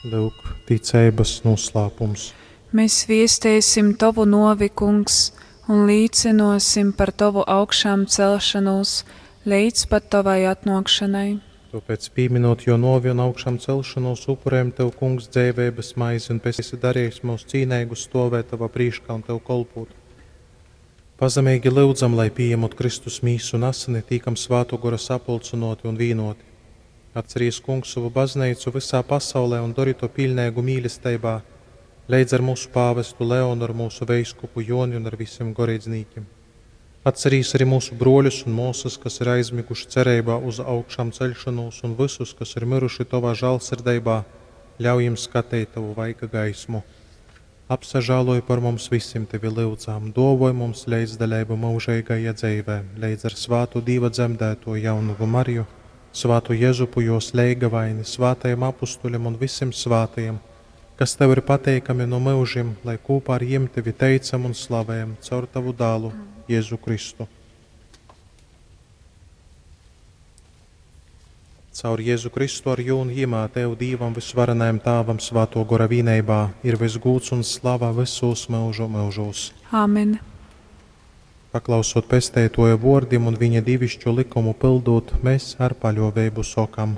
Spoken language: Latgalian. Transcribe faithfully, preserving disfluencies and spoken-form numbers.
Lyuk, ticeibas nūslāpums. Mēs viesteisim Tovu nuovi, Kungs, un līcynuosim par Tovu augšāmcelšonūs leidz pat Tovai atnuokšonai. Tōpēc, pīminūt Jō nōvi un augšamcelšonūs, upurējam Tev, Kungs, dzeiveibas maizi un esi darījis myus cīneigus stōvēt Tovā prīškā un Tev kolpūt. Pazemeigi lyudzam, lai pījemot Kristus mīsu un asini, tīkam Svātō Gora sapulcynōti un vīnōti. Atcerīs, Kungs, sovu bazneicu vysā pasaulē un dori to piļneigu mīlesteibā, leidz ar mūsu pāvestu Leonu, ar mūsu veiskupu Joni un ar visiem goreidznīkim. Atcerīs arī mūsu broļus un māsas, kas ir aizmiguši cereibā uz augšām ceļšanos, un visus, kas ir miruši Tovā žālsirdeibā, ļauj jiem skateit Tavu vaiga gaismu. Apsažāloj par mums visiem Tevi lyudzām, dovoj mums leidzdaļību mūžīgajā dzīvē, leidz ar svātu Dīva dzemdēto jaunavu Mariju, svātu Jezupu jos leigavaini, svātajiem apustuļiem un visiem svātajiem, kas Tev ir pateikami no mūžiem, lai kopā ar jiem Tevi teicam un slavējam caur Tavu dālu, Jēzu Kristu. Caur Jēzu Kristu ar jū un jimā Tev, Dīvam visvarenajam Tāvam, Svāto Gora vīneibā, ir visgūds un slava visos mūžu mūžos. Āmen. Paklausot pesteitoja vōrdim un viņa divišķo likumu pildot, mēs ar paļāvību sokam.